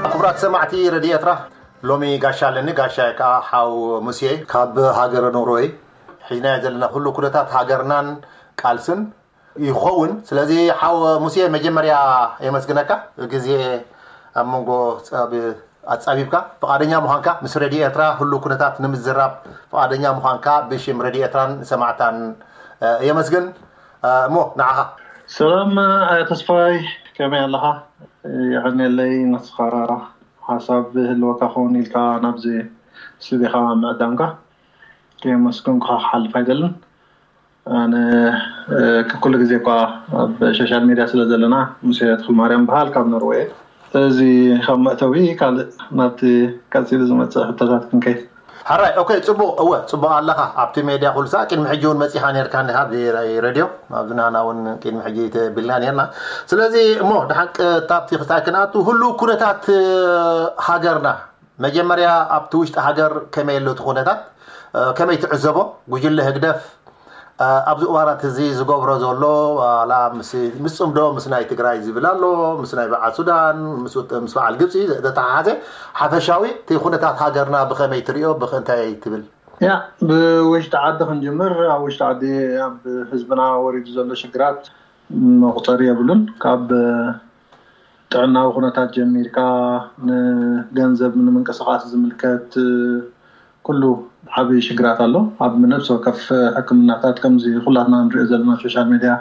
ክቡራት ሰማዕቲ ረድዮ ኤርትራ፣ ሎሚ ጋሻ ኣለኒ። ጋሻ ከዓ ሓው ሙሴ ካብ ሃገረ ኖርወይ። ሒዝናዮ ዘለና ኩሉ ኩነታት ሃገርናን ቃልስን ይኸውን። ስለዚ ሓው ሙሴ፣ መጀመርያ የመስግነካ፣ ግዜ ኣብ መንጎ ጸብ-፣ ኣጻቢብካ ፍቓደኛ ምዃንካ፣ ምስ ረድዮ ኤርትራ ሁሉ ኩነታት ንምዝራብ ፍቓደኛ ምዃንካ ብሽም ረድዮ ኤርትራን ሰማዕታን፣ እ፣ የመስግን። እ፣ እሞ ንዓኻ። ሰላም፣ እ፣ ተስፋይ፣ ከመይ ኣለኻ? የቐንየለይ፣ ንስኻ ሓሳብ ህልወካ ክኸውን ኢልካ ናብዚ ስቱዲዮኻ ምዕዳምካ ከየመስገንኩኻ ክሓልፍ ኣይደልን። ኣነ፣ እ፣ ኩሉ ግዜ እኳ ኣብ ሶሻል ሚድያ ስለ ዘለና፣ ሙሴ ተኽለማርያም በሃል ካብ ኖርዌይ። እዚ ካብ መእተዊ ካልእ ናብቲ ቀጺሉ ዝመጽእ ሕቶታት ክንከይድ። ሕራይ፣ ኦኬ፣ ጽቡቕ። እወ፣ ጽቡቕ ኣለኻ። ኣብቲ ሜድያ ኩሉ ሳዕ ቅድሚ ሕጂ እውን መጺኻ ነርካ እንዲኻ፣ ኣብዚ ሬድዮ፣ ኣብዚ ናና እውን ቅድሚ ሕጂ ተቢልና ነርና። ስለዚ እሞ ድሓን ቀጥታ ኣብቲ ክስታይ ክንኣቱ፣ ህሉው ኩነታት፣ እ፣ ሃገርና፣ መጀመርያ ኣብቲ ውሽጢ ሃገር ከመይ ኣሎ እቲ ኩነታት፣ እ፣ ከመይ ትዕዘቦ? ጉጅለ ህግደፍ፣ እ፣ ኣብዚ እዋናት እዚ ዝገብሮ ዘሎ፣ ዋላ ምስ፣ ምስ ጽምዶ ምስ ናይ ትግራይ ዝብል ኣሎ፣ ምስ ናይ በዓል ሱዳን፣ ምስ ውጥ-፣ ምስ በዓል ግብጺ ዘተሓሓዘ፣ ሓፈሻዊ እቲ ኩነታት ሃገርና ብኸመይ ትሪኦ? ብኸ-፣ እንታይ ትብል? ያ፣ ብውሽጢ ዓዲ ክንጅምር። ኣብ ውሽጢ ዓዲ ኣብ ህዝብና ወሪዱ ዘሎ ሽግራት መቑጸሪ የብሉን። ካብ ጥዕናዊ ኩነታት ጀሚርካ፣ ንገንዘብ ንምንቅስቓስ ዝምልከት፣ ኩሉ ዓቢ ሽግራት ኣሎ። ኣብ ነፍሲ ወከፍ ሕክምናታት፣ ከምዚ ኩላትና ንሪኦ ዘለና ሶሻል ሚድያ፣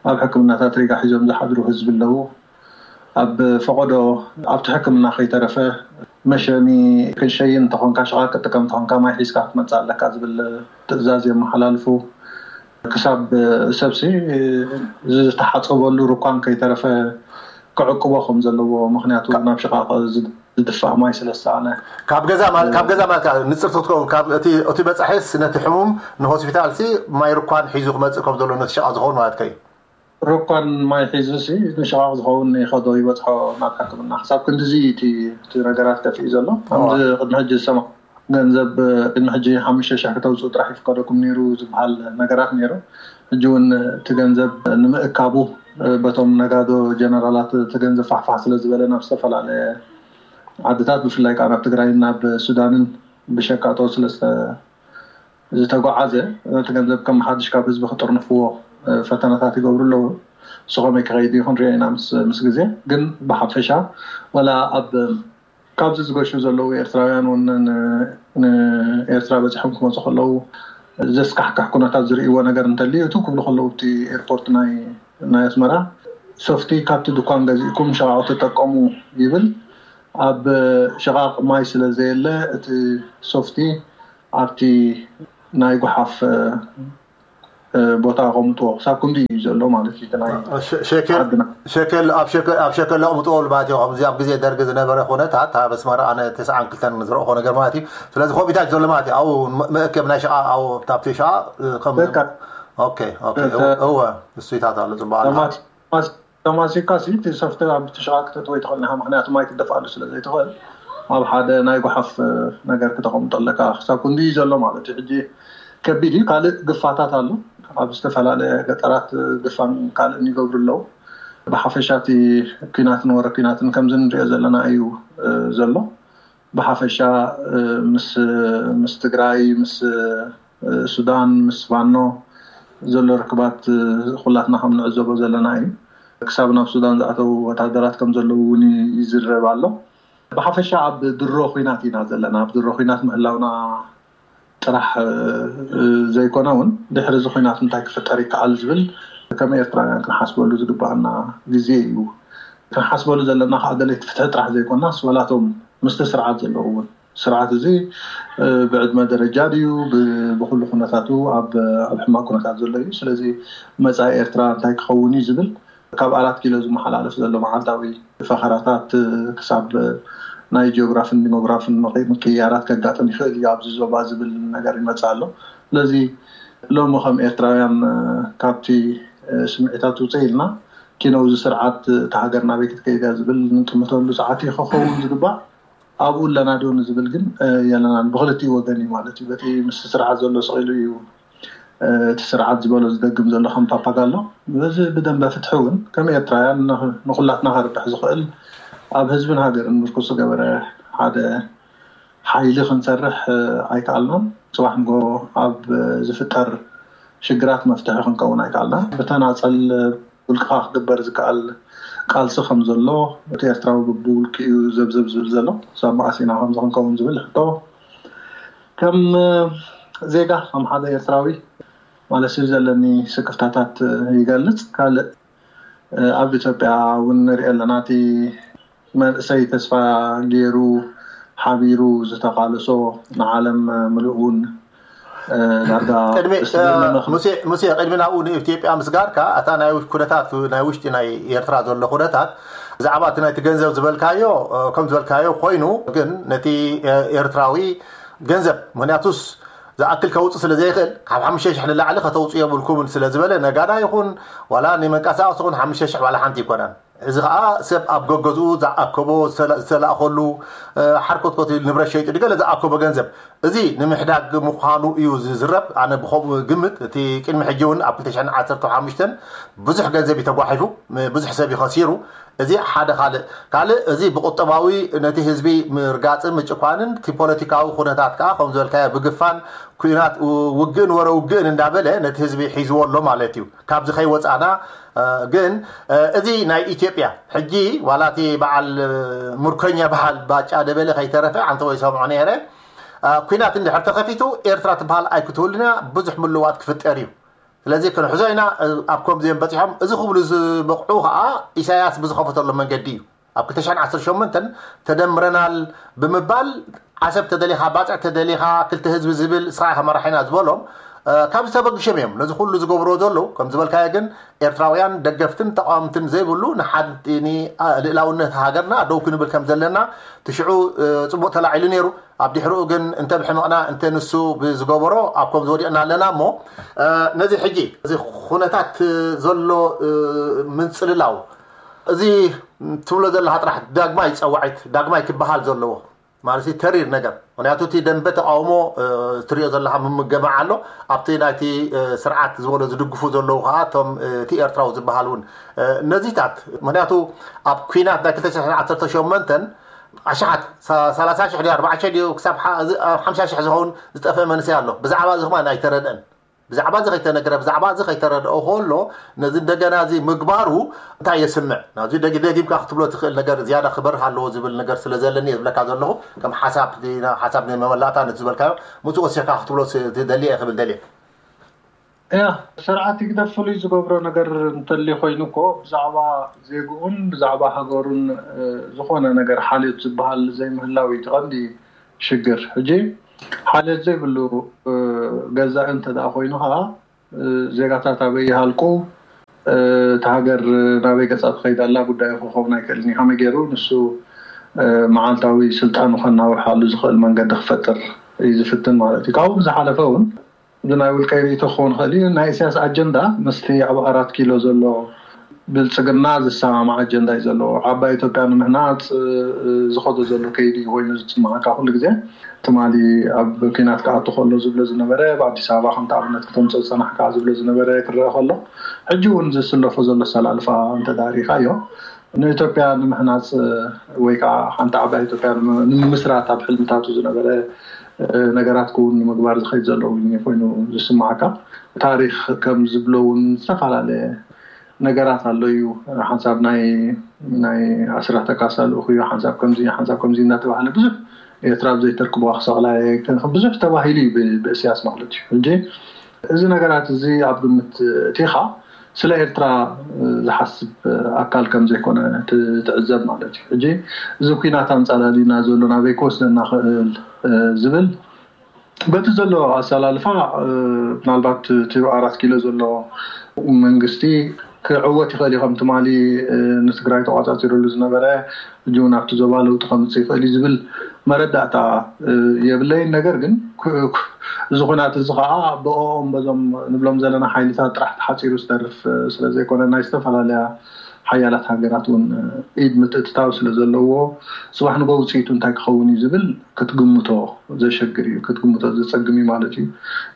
ኣብ ሕክምናታት ሪጋ ሒዞም ዝሓድሩ ህዝቢ ኣለዉ። ኣብ ፈቐዶ ኣብቲ ሕክምና ከይተረፈ፣ መሸኒ ክንሸይን እንተኾንካ፣ ሸቓቕ ክትጥቀም እንተኾንካ፣ ማይ ሒዝካ ክትመጽእ ኣለካ ዝብል ትእዛዝ የመሓላልፉ። ክሳብ ሰብሲ ዝተሓጸበሉ ሩኳን ከይተረፈ ክዕቅቦ ከም ዘለዎ፣ ምኽንያቱ ናብ ሽቓቕ ዝድፋእ ማይ ስለ ዝሰኣነ። ካብ ገዛ ማለት፣ ካብ ገዛ ማለት ከዓ ንጽርቲ ክትከውን፣ ካብ እቲ፣ እቲ በጻሒስ ነቲ ሕሙም ንሆስፒታልሲ ማይ ሩኳን ሒዙ ክመጽእ ከም ዘሎ፣ ነቲ ሸቓቕ ዝኸውን ማለትካ እዩ። ሩኳን ማይ ሒዙሲ ንሸቓቕ ዝኸውን ይኸዶ ይበጽሖ ናብ ሕክምና። ክሳብ ክንድዚ እቲ፣ እቲ ነገራት ከፊኡ ዘሎ። ከምዚ ቅድሚ ሕጂ ዝሰማ-፣ ገንዘብ ቅድሚ ሕጂ ሓሙሽተ ሽሕ ክተውፅኡ ጥራሕ ይፍቀደኩም ነይሩ ዝበሃል ነገራት ነይሩ። ሕጂ እውን እቲ ገንዘብ ንምእካቡ በቶም ነጋዶ ጀነራላት እቲ ገንዘብ ፋሕፋሕ ስለ ዝበለ ናብ ዝተፈላለየ ዓድታት፣ ብፍላይ ከዓ ናብ ትግራይን ናብ ሱዳንን ብሸቃጦ ስለ ዝተ-፣ ዝተጓዓዘ፣ ነቲ ገንዘብ ከም ሓድሽ ካብ ህዝቢ ክጥርንፍዎ፣ እ፣ ፈተነታት ይገብሩ ኣለዉ። እሱ ከመይ ክኸይድ እዩ ክንሪኦ ኢና ምስ፣ ምስ ግዜ። ግን ብሓፈሻ፣ ወላ ኣብ፣ ካብዚ ዝገሹ ዘለዉ ኤርትራውያን እውን ን-፣ ንኤርትራ በጺሖም ክመጹ ከለዉ ዘስካሕክሕ ኩነታት ዝርእይዎ ነገር እንተልዩ፣ እቱ ክብሉ ከለዉ፣ እቲ ኤርፖርት ናይ፣ ናይ ኣስመራ፣ ሶፍቲ ካብቲ ድኳን ገዚእኩም ሸቓቕ ተጠቀሙ ይብል። ኣብ ሸቓቕ ማይ ስለ ዘየለ፣ እቲ ሶፍቲ ኣብቲ ናይ ጓሓፍ፣ እ፣ እ፣ ቦታ ኣቐምጥዎ። ክሳብ ክንዲ እዩ ዘሎ ማለት እዩ። እቲ ናይ ሸ-፣ ሸከል፣ ዓድና። ሸከል፣ ኣብ ሸከል፣ ኣብ ሸከል ኣቕምጥዎ ማለት እዩ። ከምዚ ኣብ ግዜ ደርጊ ዝነበረ ኩነታት ኣብ ኣስመራ ኣነ ተስዓን ክልተን ዝረእኹ ነገር ማለት እዩ። ስለዚ ከምኡታት ዘሎ ማለት እዩ። ኣብኡ መ-፣ መእከብ ናይ ሸቓ-፣ ኣብኡ ኣብቲ ሸቓ፣ እ፣ ከም በቃ። ኦኬ፣ ኦኬ። እተ-፣ እወ፣ እወ፣ እሱይታት ኣሎ፣ ጽቡቕ ኣሎ። ተማሲ-፣ ተማስ-፣ ተማሲካ ሲ እቲ ሶፍቲ ኣብ ትሽቓ ክተእትዎ ኣይትኽእልን ኢኻ፣ ምኽንያቱ ማይ ክትደፍኣሉ ስለ ዘይትኽእል፣ ኣብ ሓደ ናይ ጓሓፍ ነገር ክተቐምጦ ኣለካ። ክሳብ ክንዲ እዩ ዘሎ ማለት እዩ። ሕጂ ከቢድ እዩ። ካልእ ግፋታት ኣሎ። ኣብ ዝተፈላለየ ገጠራት ግፋን ካልእን ይገብሩ ኣለዉ። ብሓፈሻ እቲ ኲናትን ወረ ኲናትን ከምዚ ንሪኦ ዘለና እዩ፣ እ፣ ዘሎ። ብሓፈሻ፣ እ፣ ምስ፣ ምስ ትግራይ፣ ምስ፣ እ፣ ሱዳን፣ ምስ ፋኖ ዘሎ ርክባት፣ እ፣ ኩላትና ከም ንዕዘቦ ዘለና እዩ። ክሳብ ናብ ሱዳን ዝኣተዉ ወታደራት ከም ዘለዉ እውን ይዝረብ ኣሎ። ብሓፈሻ ኣብ ድሮ ኲናት ኢና ዘለና። ኣብ ድሮ ኲናት ምህላውና ጥራሕ፣ እ፣ ዘይኮነ እውን ድሕሪ እዚ ኲናት እንታይ ክፍጠር ይከኣል ዝብል ከም ኤርትራውያን ክንሓስበሉ ዝግባኣና ግዜ እዩ። ክንሓስበሉ ዘለና ከዓ ደለይቲ ፍትሒ ጥራሕ ዘይኮናስ፣ ዋላቶም ምስቲ ስርዓት ዘለዉ እውን፣ ስርዓት እዚ፣ እ፣ ብዕድመ ደረጃ ድዩ፣ ብ-፣ ብኩሉ ኩነታቱ ኣብ፣ ኣብ ሕማቕ ኩነታት ዘሎ እዩ። ስለዚ መጻኢ ኤርትራ እንታይ ክኸውን እዩ ዝብል ካብ ኣራት ኪሎ ዝመሓላለፍ ዘሎ መዓልታዊ ፈኸራታት፣ እ፣ ክሳብ ናይ ጂኦግራፍን ዲሞግራፍን ምቅ-፣ ምቅይያራት ከጋጥም ይኽእል እዩ ኣብዚ ዞባ ዝብል ነገር ይመጽእ ኣሎ። ስለዚ ሎሚ ከም ኤርትራውያን፣ እ፣ ካብቲ፣ እ፣ ስምዒታት ውፅእ ኢልና፣ ኪነው እዚ ስርዓት፣ እ፣ እታ ሃገር ናበይ ክትከይድ እያ ዝብል ንጥምተሉ ሰዓት እዩ ክኸውን ዝግባእ። ኣብኡ ኣለና ዶ ንዝብል ግን፣ እ፣ የለናን። ብክልቲኡ ወገን እዩ ማለት እዩ። በቲ ምስቲ ስርዓት ዘሎ ስቕ ኢሉ እዩ፣ እ፣ እቲ ስርዓት ዝበሎ ዝደግም ዘሎ ከም ፓፓጋሎ። በዚ ብደንበ ፍትሒ እውን ከም ኤርትራውያን ን-፣ ንኹላትና ከርብሕ ዝኽእል ኣብ ህዝብን ሃገርን ምርኩስ ዝገበረ ሓደ ሓይሊ ክንሰርሕ ኣይከኣልናን። ፅባሕ ንጎ ኣብ ዝፍጠር ሽግራት መፍትሒ ክንከውን ኣይከኣልናን። ብተናፀል ውልቅኻ ክግበር ዝከኣል ቃልሲ ከም ዘሎ፣ እቲ ኤርትራዊ ብውልቂ እዩ ዘብዘብ ዝብል ዘሎ፣ ሳብ መዓስ ኢና ከምዚ ክንከውን ዝብል ሕቶ ከም ዜጋ፣ ከም ሓደ ኤርትራዊ ማለት እዩ፣ ዘለኒ ስክፍታታት ይገልጽ። ካልእ ኣብ ኢትዮጵያ እውን ንሪኦ ኣለና። እቲ መንእሰይ ተስፋ ገይሩ ሓቢሩ ዝተቓለሶ ንዓለም ምሉእ እውን ዳርጋ ቅድሚ ሙሴ ቅድሚ ናብኡ ንኢትዮጵያ ምስጋርካ፣ ኣታ ናይ ኩነታት ናይ ውሽጢ ናይ ኤርትራ ዘሎ ኩነታት፣ ብዛዕባ እቲ ናይቲ ገንዘብ ዝበልካዮ ከም ዝበልካዮ ኮይኑ፣ ግን ነቲ ኤርትራዊ ገንዘብ፣ ምክንያቱስ ዝኣክል ከውፅእ ስለ ዘይኽእል፣ ካብ ሓሙሽተ ሽሕ ንላዕሊ ከተውፅኡ የብልኩምን ስለ ዝበለ፣ ነጋዳ ይኹን ዋላ ንመንቀሳቐሲ ይኹን ሓሙሽተ ሽሕ ዋላ ሓንቲ ይኮናን። እዚ ከዓ ሰብ ኣብ ገገዝኡ ዝኣከቦ ዝተላእከሉ ሓርኮትኮት ንብረት ሸይጡ ድገለ ዝኣከቦ ገንዘብ እዚ ንምሕዳግ ምዃኑ እዩ ዝዝረብ። ኣነ ብከምኡ ግምት እቲ ቅድሚ ሕጂ እውን ኣብ ክልተ ሽሕን ዓሰርተ ሓሙሽተን ብዙሕ ገንዘብ እዩ ተጓሒፉ፣ ብዙሕ ሰብ እዩ ከሲሩ። እዚ ሓደ ካልእ ካልእ እዚ ብቁጠባዊ ነቲ ህዝቢ ምርጋፅን ምጭኳንን እቲ ፖለቲካዊ ኩነታት ከዓ ከም ዝበልካዮ ብግፋን ኩናት ውግእን ወረ ውግእን እንዳበለ ነቲ ህዝቢ ሒዝዎ ኣሎ ማለት እዩ። ካብዚ ከይወፃና ግን እዚ ናይ ኢትዮጵያ ሕጂ ዋላ እቲ በዓል ምርኮኛ በዓል ባጫ ደበለ ከይተረፈ ኣንተ ወይ ሰምዖ ነይረ ኩናት እንድሕር ተኸፊቱ ኤርትራ ትበሃል ኣይክትህሉን እያ። ብዙሕ ምልዋጥ ክፍጠር እዩ። ስለዚ ክንሕዞ ኢና። ኣብ ከምዚኦም በፂሖም እዚ ክብሉ ዝበቕዑ ከዓ ኢሳያስ ብዝኸፈተሉ መንገዲ እዩ። ኣብ ክልተ ሽሕን ዓሰርተ ሸሞንተን ተደምረናል ብምባል ዓሰብ ተደሊኻ ባፅዕ ተደሊኻ ክልተ ህዝቢ ዝብል ስኻ ኢኻ መራሒና ዝበሎም ካብዚ ተበግሾም እዮም ነዚ ኩሉ ዝገብርዎ ዘለዉ። ከም ዝበልካዮ ግን ኤርትራውያን ደገፍትን ተቃወምትን ዘይብሉ ንሓንቲ ልእላውነት ሃገርና ደው ክንብል ከም ዘለና ትሽዑ ፅቡቅ ተላዒሉ ነይሩ። ኣብ ድሕሪኡ ግን እንተ ብሕመቕና እንተ ንሱ ብዝገበሮ ኣብ ከም ዝወዲቕና ኣለና እሞ ነዚ ሕጂ እዚ ኩነታት ዘሎ ምንፅልላው እዚ ትብሎ ዘለካ ጥራሕ ዳግማይ ፀዋዒት ዳግማይ ክበሃል ዘለዎ ማለት ተሪር ነገር። ምክንያቱ እቲ ደንበ ተቃውሞ ትሪኦ ዘለካ ምምገማዕ ኣሎ። ኣብቲ ናይቲ ስርዓት ዝበሎ ዝድግፉ ዘለዉ ከዓ እቶም እቲ ኤርትራዊ ዝበሃል እውን ነዚታት ምክንያቱ ኣብ ኩናት ናይ ክልተ ሽሕን ዓሰርተ ሸሞንተን ኣሽሓት ሰላሳ ሽሕ ድዩ ኣርባዓ ሽሕ ድዩ ክሳብ ሓምሳ ሽሕ ዝኸውን ዝጠፍአ መንእሰይ ኣሎ። ብዛዕባ እዚ ከማን ኣይተረድአን። ብዛዕባ እዚ ከይተነግረ ብዛዕባ እዚ ከይተረድኦ ከሎ ነዚ እንደገና እዚ ምግባሩ እንታይ የስምዕ ናዚ ደጊምካ ክትብሎ ትኽእል ነገር ዝያዳ ክበርህ ኣለዎ ዝብል ነገር ስለ ዘለኒ ዝብለካ ዘለኹ ከም ሓሳብ ሓሳብ ናይ መመላእታ ነቲ ዝበልካዮ ምፅእ ወሲኽካ ክትብሎ ትደሊ እየ ክብል ደልየ። ያ ስርዓት ህግደፍ ፍሉይ ዝገብሮ ነገር እንተልዩ ኮይኑ እኮ ብዛዕባ ዜግኡን ብዛዕባ ሃገሩን ዝኾነ ነገር ሓልዮት ዝበሃል ዘይምህላው እዩ እቲ ቀንዲ ሽግር። ሕጂ ሓልዮት ዘይብሉ ገዛኢ እንተ ደኣ ኮይኑ ከዓ ዜጋታት ኣበይ ይሃልቁ፣ እታ ሃገር ናበይ ገፃ ትኸይድ ኣላ ጉዳዩ ክኸውን ኣይክእልን እዩ። ከመይ ገይሩ ንሱ መዓልታዊ ስልጣኑ ከናውሓሉ ዝኽእል መንገዲ ክፈጥር እዩ ዝፍትን ማለት እዩ። ካብኡ ብዝሓለፈ እውን እዚ ናይ ውልቀይ ርእይቶ ክኸውን ይኽእል እዩ። ናይ ኢሳያስ ኣጀንዳ ምስቲ ኣብ ኣራት ኪሎ ዘሎ ብልፅግና ዝሰማማዕ ኣጀንዳ እዩ ዘለዎ። ዓባይ ኢትዮጵያ ንምህናፅ ዝኸዶ ዘሎ ከይዲ ኮይኑ ዝስማዓካ ኩሉ ግዜ ትማሊ ኣብ ኪናት ክኣቱ ከሎ ዝብሎ ዝነበረ ብኣዲስ ኣበባ ከምቲ ኣብነት ክተምፅኦ ዝፀናሕካ ዝብሎ ዝነበረ ክረአ ከሎ ሕጂ እውን ዝስለፎ ዘሎ ኣሰላልፋ እንተዳሪኻዮ ንኢትዮጵያ ንምህናፅ ወይ ከዓ ሓንቲ ዓባይ ኢትዮጵያ ንምምስራት ኣብ ሕልምታቱ ዝነበረ ነገራት ክውን ንምግባር ዝኸይድ ዘሎ ኮይኑ ዝስማዓካ። ታሪክ ከም ዝብሎ እውን ዝተፈላለየ ነገራት ኣሎ እዩ። ሓንሳብ ናይ ናይ ኣስራተ ካሳ ልእኹ እዩ፣ ሓንሳብ ከምዚ ሓንሳብ ከምዚ እናተባህለ ብዙሕ ኤርትራ ብዘይተርክቦ ክሰቕላ ብዙሕ ተባሂሉ እዩ ብእስያስ ማለት እዩ። ሕጂ እዚ ነገራት እዚ ኣብ ግምት እቲኻ ስለ ኤርትራ ዝሓስብ ኣካል ከም ዘይኮነ ትዕዘብ ማለት እዩ። ሕጂ እዚ ኩናት ኣንጻላሊና ዘሎ ናበይ ክወስደና ክእል ዝብል በቲ ዘሎ ኣሰላልፋ ምናልባት እቲ ኣራት ኪሎ ዘሎ መንግስቲ ክዕወት ይኽእል እዩ። ከም ትማሊ ንትግራይ ተቋፃፂሩሉ ዝነበረ ሕጂ እውን ኣብቲ ዞባ ለውጢ ከምፅእ ይኽእል እዩ ዝብል መረዳእታ የብለይን። ነገር ግን እዚ ኩናት እዚ ከዓ ብኦም በዞም ንብሎም ዘለና ሓይልታት ጥራሕ ተሓፂሩ ዝተርፍ ስለዘይኮነ ናይ ዝተፈላለያ ሓያላት ሃገራት እውን ኢድ ምትእትታው ስለ ዘለዎ፣ ጽባሕ ንጎ ውፅኢቱ እንታይ ክኸውን እዩ ዝብል ክትግምቶ ዘሸግር እዩ፣ ክትግምቶ ዘጸግም እዩ ማለት እዩ።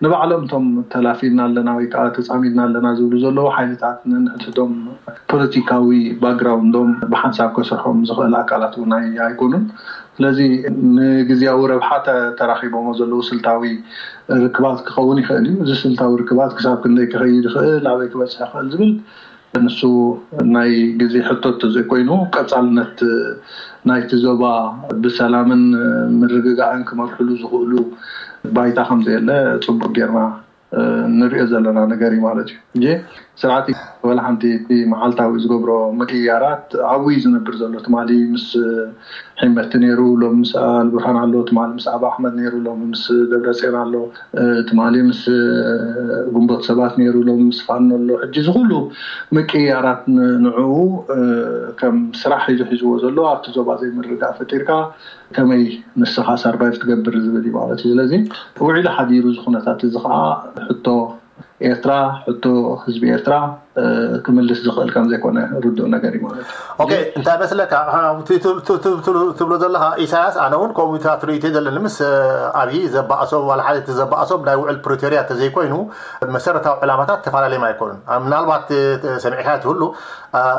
ንባዕሎም እቶም ተላፊና ኣለና ወይ ከዓ ተጻሚድና ኣለና ዝብሉ ዘለዉ ሓይልታት፣ ንንሕድሕዶም ፖለቲካዊ ባክግራውንዶም ብሓንሳብ ከስርሖም ዝኽእል ኣካላት እውን ኣይ- ኣይኮኑን። ስለዚ ንግዜያዊ ረብሓ ተ- ተራኺቦሞ ዘለዉ ስልታዊ ርክባት ክኸውን ይኽእል እዩ። እዚ ስልታዊ ርክባት ክሳብ ክንደይ ክኸይድ ይኽእል፣ ኣበይ ክበፅሕ ይኽእል ዝብል ንሱ ናይ ግዜ ሕቶ እንተዘይኮይኑ፣ ቀፃልነት ናይቲ ዞባ ብሰላምን ምርግጋእን ክመርሕሉ ዝኽእሉ ባይታ ከም ዘየለ ፅቡቅ ጌርና ንሪኦ ዘለና ነገር እዩ ማለት እዩ። እ ስርዓት ወላ ሓንቲ እቲ መዓልታዊ ዝገብሮ ምቅያራት ኣብኡ እዩ ዝነብር ዘሎ። ትማሊ ምስ ሒመቲ ነይሩ፣ ሎም ምስ ኣልቡርሃን ኣሎ። ትማሊ ምስ ኣብ ኣሕመድ ነይሩ፣ ሎም ምስ ደብረፅዮን ኣሎ። ትማሊ ምስ ግንቦት ሰባት ነይሩ፣ ሎም ምስ ፋኖ ኣሎ። ሕጂ ዝኩሉ ምቅያራት ንዕኡ ከም ስራሕ ሒዙ ሒዝዎ ዘሎ፣ ኣብቲ ዞባ ዘይምርግጋእ ፈጢርካ ከመይ ንስኻ ሰርቫይቭ ትገብር ዝብል እዩ ማለት እዩ። ስለዚ ውዒሉ ሓዲሩ እዚ ኩነታት እዚ ከዓ ሕቶ ኤርትራ፣ ሕቶ ህዝቢ ኤርትራ ክምልስ ዝኽእል ከም ዘይኮነ ርዱእ ነገር እዩ ማለት እዩ። እንታይ መስለካ? ትብሎ ዘለካ ኢሳያስ፣ ኣነ እውን ከምኡታት ርእይቶ ዘለኒ ምስ ኣብይ ዘባእሶም ዋላ ሓደ እቲ ዘባእሶም ናይ ውዕል ፕሪቶርያ ተዘይኮይኑ መሰረታዊ ዕላማታት ተፈላለዮም ኣይኮኑን። ምናልባት ሰሚዕካ ትህሉ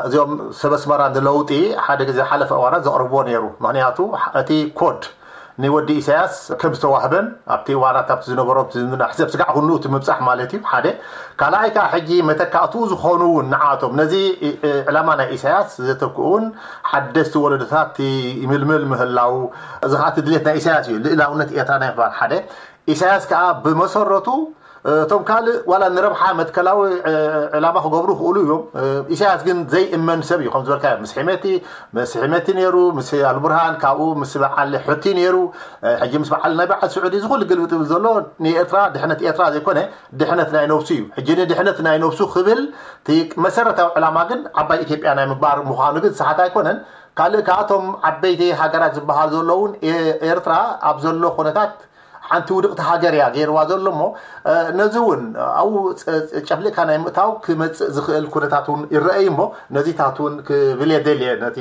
እዚኦም ሰብ ኣስመራ ንለውጢ ሓደ ግዜ ሓለፈ እዋናት ዘቕርብዎ ነይሩ። ምክንያቱ እቲ ኮድ ንወዲ ኢሳያስ ከም ዝተዋህበን ኣብቲ እዋናት ኣብቲ ዝነበሮ ሕሰብ ስጋዕ ኩኑ እቲ ምብፃሕ ማለት እዩ ሓደ። ካልኣይ ከዓ ሕጂ መተካእትኡ ዝኾኑ እውን ንዓቶም ነዚ ዕላማ ናይ ኢሳያስ ዘተክኡን ሓደስቲ ወለዶታት ይምልምል ምህላው እዚ ከዓ እቲ ድሌት ናይ ኢሳያስ እዩ። ልእላውነት ኤርትራ ናይ ምባል ሓደ። ኢሳያስ ከዓ ብመሰረቱ እቶም ካልእ ዋላ ንረብሓ መትከላዊ ዕላማ ክገብሩ ይኽእሉ እዮም። ኢሳያስ ግን ዘይእመን ሰብ እዩ። ከም ዝበልካዮ ምስ ሒመቲ ምስ ሒመቲ ነይሩ፣ ምስ ኣልቡርሃን፣ ካብኡ ምስ በዓል ሑቲ ነይሩ። ሕጂ ምስ በዓል ናይ በዓል ስዑዲ እዚ ኩሉ ግልብጥ ዝብል ዘሎ ንኤርትራ ድሕነት ኤርትራ ዘይኮነ ድሕነት ናይ ነብሱ እዩ። ሕጂ ንድሕነት ናይ ነብሱ ክብል እቲ መሰረታዊ ዕላማ ግን ዓባይ ኢትዮጵያ ናይ ምባር ምዃኑ ግን ሰሓት ኣይኮነን። ካልእ ከኣቶም ዓበይቲ ሃገራት ዝበሃል ዘለውን ኤርትራ ኣብ ዘሎ ኩነታት ሓንቲ ውድቕቲ ሃገር እያ ገይርዋ ዘሎ እሞ ነዚ እውን ኣብኡ ጨፍሊቕካ ናይ ምእታው ክመፅእ ዝኽእል ኩነታት እውን ይረአይ እሞ ነዚታት እውን ክብል የደልየ። ነቲ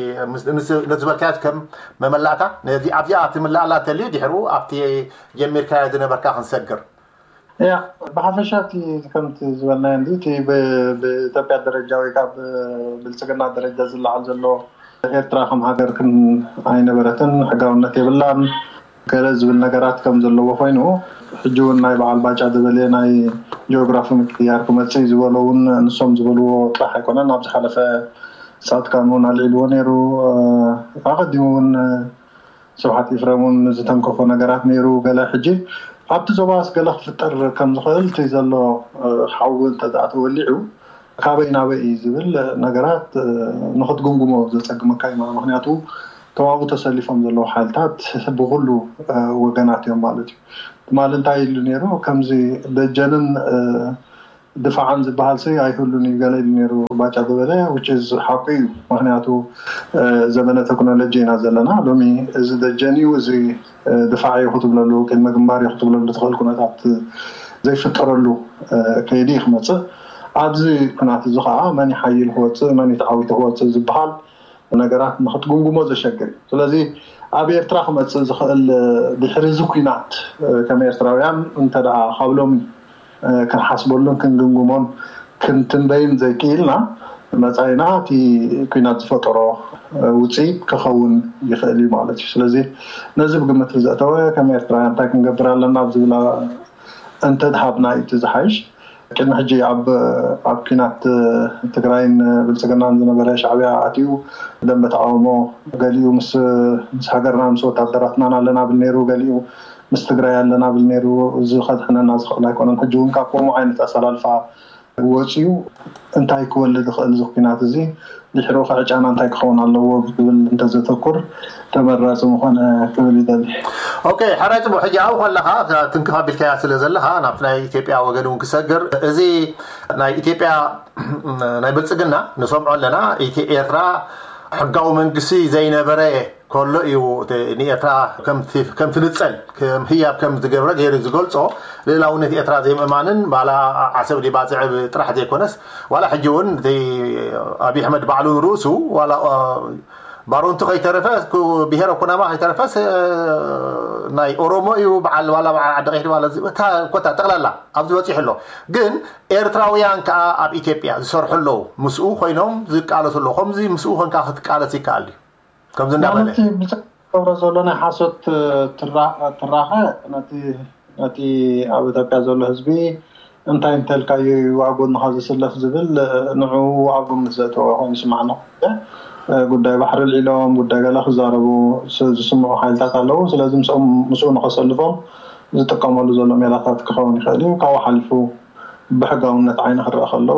ዝበልካዮ ከም መመላእታ ነዚ ኣብዚኣ ትምልኣላ እንተልዩ ድሕሩ ኣብቲ ጀሚርካዮ ዝነበርካ ክንሰግር። ያ ብሓፈሻ እቲ ከምቲ ዝበልናዮ እንዲ እቲ ብኢትዮጵያ ደረጃ ወይ ከዓ ብብልፅግና ደረጃ ዝለዓል ዘሎ ኤርትራ ከም ሃገር ክን ኣይነበረትን ሕጋውነት የብላን ገለ ዝብል ነገራት ከም ዘለዎ ኮይኑ ሕጂ እውን ናይ በዓል ባጫ ዝበለ ናይ ጂኦግራፊ ምቅያር ክመፅእ ዝበሎ እውን ንሶም ዝበልዎ ጥራሕ ኣይኮነን። ኣብ ዝሓለፈ ፃድቃን እውን ኣልዒልዎ ነይሩ። ኣቐዲሙ እውን ስብሓት ኢፍረም እውን ዝተንከፎ ነገራት ነይሩ። ገለ ሕጂ ኣብቲ ዞባስ ገለ ክፍጠር ከም ዝኽእል እቲ ዘሎ ሓዊ እንተኣ ተወሊዑ ካበይ ናበይ እዩ ዝብል ነገራት ንክትግምግሞ ዘፀግመካ እዩ። ምክንያቱ ተዋቡ ተሰሊፎም ዘለዉ ሓይልታት ብኩሉ ወገናት እዮም ማለት እዩ። ትማሊ እንታይ ኢሉ ነይሩ? ከምዚ ደጀንን ድፋዕን ዝበሃል ሲ ኣይህሉን እዩ ገለ ኢሉ ነይሩ ባጫ ዝበለ ውጭ ሓቁ እዩ። ምክንያቱ ዘመነ ቴክኖሎጂ ኢና ዘለና ሎሚ። እዚ ደጀን እዩ፣ እዚ ድፋዕ እዩ ክትብለሉ፣ ቅድመ ግንባር እዩ ክትብለሉ ትኽእል ኩነታት ዘይፍጠረሉ ከይዲ እዩ ክመፅእ። ኣብዚ ኩናት እዚ ከዓ መን ይሓይል ክወፅእ፣ መን ይተዓዊቱ ክወፅእ ዝበሃል ነገራት ንክትግምግሞ ዘሸግር እዩ። ስለዚ ኣብ ኤርትራ ክመፅእ ዝኽእል ድሕሪ እዚ ኩናት ከም ኤርትራውያን እንተ ደኣ ካብ ሎሚ ክንሓስበሉን ክንግምግሞን ክንትንበይን ዘይክኢልና መፃኢና እቲ ኩናት ዝፈጠሮ ውፅኢት ክኸውን ይኽእል እዩ ማለት እዩ። ስለዚ ነዚ ብግምት ዘእተወ ከም ኤርትራውያን እንታይ ክንገብር ኣለና ኣብ ዝብላ እንተድሃብና እዩ እቲ ዝሓይሽ። ቅድሚ ሕጂ ኣብ ኣብ ኪናት ትግራይን ብልፅግናን ዝነበረ ሻዕብያ ኣትዩ ደንበ ተቃውሞ ገሊኡ ምስ ምስ ሃገርና ምስ ወታደራትናን ኣለና ብል ነይሩ፣ ገሊኡ ምስ ትግራይ ኣለና ብል ነይሩ። እዚ ከድሕነና ዝኽእል ኣይኮነን። ሕጂ እውን ካብ ከምኡ ዓይነት ኣሰላልፋ ወፂኡ እንታይ ክወልድ ይኽእል እዚ ኩናት እዚ ድሕሩ ከዕጫና እንታይ ክኸውን ኣለዎ ብዝብል እንተዘተኩር ተመራፂ ምኾነ ክብል ይደሊ። ኦኬ፣ ሕራይ ፅቡቅ። ሕጂ ኣብኡ ከለኻ ትንክፍ ኣቢልካያ ስለ ዘለኻ ናብቲ ናይ ኢትዮጵያ ወገን እውን ክሰግር እዚ ናይ ኢትዮጵያ ናይ ብልፅግና ንሰምዖ ኣለና። ኢትዮ ኤርትራ ሕጋዊ መንግስቲ ዘይነበረ ከሎ እዩ እቲ ንኤርትራ ከም እቲ- ከም ትንጸል ከም ህያብ ከም ዝገብረ ገይሩ ዝገልጾ። ልእላውነት ኤርትራ ዘይምእማንን ባላ ዓሰብ ዲባፅዕ ጥራሕ ዘይኮነስ ዋላ ሕጂ እውን እቲ ኣብይ ኣሕመድ ባዕሉ ንርእሱ ዋላ እ፣ ባሮንቱ ከይተረፈ ኩ- ብሄረ ኩናማ ከይተረፈስ እ፣ ናይ ኦሮሞ እዩ በዓል ዋላ በዓል ዓዲ ቀይሕ ዋላ ዚ- እታ ኮታ ጠቕላላ ኣብዚ በፂሑ ኣሎ። ግን ኤርትራውያን ከዓ ኣብ ኢትዮጵያ ዝሰርሑ ኣለዉ፣ ምስኡ ኮይኖም ዝቃለሱ ኣለዉ። ከምዚ ምስኡ ኮንካ ክትቃለስ ይከኣል እዩ። ከምዚ እንዳበለ ማለት ብዛዕባ ገብረ ዘሎ ናይ ሓሶት ትራ- ትራኸ ነቲ ነቲ ኣብ ኢትዮጵያ ዘሎ ህዝቢ እንታይ እንተልካዮ እዩ ኣብ ጎንኻ ዝስለፍ ዝብል ንዑ ኣብ ግምት ዘእተወ ኮይኑ ይስማዓና። ጉዳይ ባሕሪ ልዒሎም ጉዳይ ገለ ክዛረቡ ዝስምዑ ሓይልታት ኣለዉ። ስለዚ ምስኦም ምስኡ ንኸሰልፎም ዝጥቀመሉ ዘሎ ሜላታት ክኸውን ይኽእል እዩ። ካብኡ ሓሊፉ ብሕጋውነት ዓይኒ ክረአ ከሎ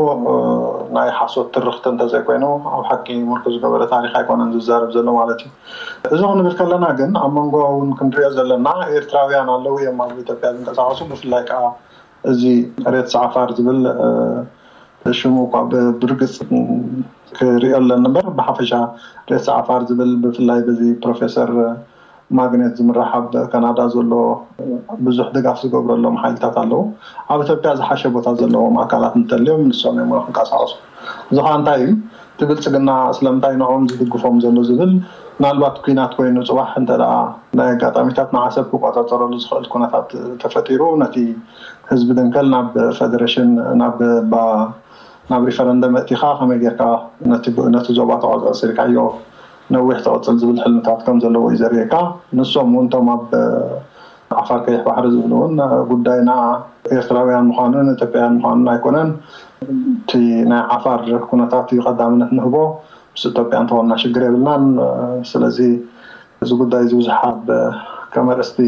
ናይ ሓሶት ትርኽቲ እንተዘይኮይኑ ኣብ ሓቂ ምርኩዝ ዝገበረ ታሪኽ ኣይኮነን ዝዛረብ ዘሎ ማለት እዩ። እዚ ክንብል ከለና ግን ኣብ መንጎ እውን ክንሪኦ ዘለና ኤርትራውያን ኣለዉ እዮም ኣብ ኢትዮጵያ ዝንቀሳቐሱ። ብፍላይ ከዓ እዚ ሬትስ ዓፋር ዝብል ሽሙ እኳ ብርግፅ ክሪኦ ኣለኒ እምበር ብሓፈሻ ሬትስ ዓፋር ዝብል ብፍላይ በዚ ፕሮፌሰር ማግኔት ዝምራሕ ኣብ ካናዳ ዘሎ ብዙሕ ድጋፍ ዝገብረሎም ሓይልታት ኣለዉ። ኣብ ኢትዮጵያ ዝሓሸ ቦታ ዘለዎም ኣካላት እንተልዮም ንሶም እዮም ክንቀሳቀሱ። እዚ ከዓ እንታይ እዩ? እቲ ብልፅግና ስለምንታይ ንዕኦም ዝድግፎም ዘሎ ዝብል ምናልባት ኩናት ኮይኑ ፅባሕ እንተ ደኣ ናይ ኣጋጣሚታት ንዓሰብ ክቆፃፀረሉ ዝኽእል ኩነታት ተፈጢሩ ነቲ ህዝቢ ድንከል ናብ ፌደሬሽን ናብ ናብ ሪፈረንደም መእቲኻ ከመይ ጌርካ ነቲ ዞባ ተቆፃፂርካዮ ነዊሕ ትቕፅል ዝብል ሕልምታት ከም ዘለዎ እዩ ዘርእየካ። ንሶም እውን እቶም ኣብ ዓፋር ቀይሕ ባሕሪ ዝብሉ እውን ጉዳይና ኤርትራውያን ምዃኑን ኢትዮጵያውያን ምዃኑን ኣይኮነን። እቲ ናይ ዓፋር ኩነታት እዩ ቀዳምነት ንህቦ። ምስ ኢትዮጵያ እንተኾንና ሽግር የብልናን። ስለዚ እዚ ጉዳይ እዚ ብዙሕ ኣብ ከም ኣርእስቲ